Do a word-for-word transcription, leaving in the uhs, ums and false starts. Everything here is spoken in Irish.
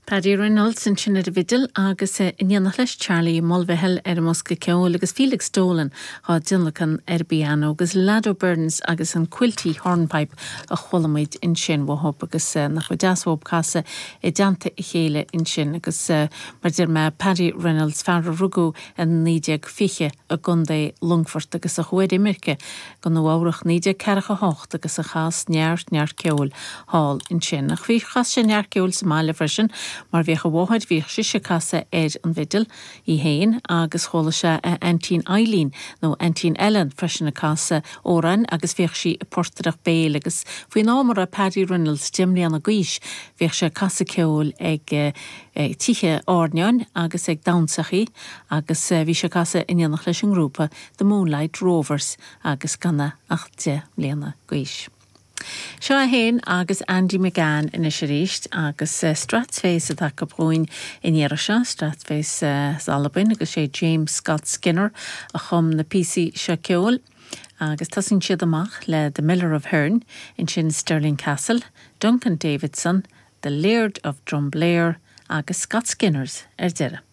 Paddy Reynolds ansin ar an bhfidil agus in éineacht leis Charlie Mulvihill ar an mbosca ceoil agus Felix Dolan á dtionlacan ar an bpianó agus Lado Burns agus an Quilty Hornpipe a chuala muid ansin uathu agus nach bhfuil deas uathu casadh i dteannta a chéile ansin agus mar a deir mé Paddy Reynolds fear a rugadh in naoi déag fiche i gContae Longfoirt agus a chuaigh ar imirce go Nua-Eabhrac naoi déag ceathracha hocht agus a chas neart neart ceoil thall ansin. Ach bhí chas sé neart ceoil sa mbaile freisin mar bhíodh a mháthair bhíodh sise ag casadh ar an bhfidil í féin agus chuala sé a aintín Eileen nó aintín Ellen freisin ag casadh amhráin agus bhíodh sí ag portaireacht béil agus faoin am a raibh Paddy Reynolds deich mbliana d'aois bhíodh sé ag casadh ceoil ag tithe airneáin agus ag damhsachaí agus bhí sé ag casadh in éineacht leis an ngrúpa The Moonlight Rovers agus gan é ach deich mbliana d'aois. Seo é féin agus Andy McGann anois arís agus Strathspeys atá acu dhúinn an iarraidh seo, Strathspeys as Albain agus sé James Scott Skinner a chum na píosaí seo ceoil. Agus tosaíonn siad amach le The Miller of Hearn, ansin Stirling Castle, Duncan Davidson, The Laird of Drumblair agus Scott Skinners ar deireadh.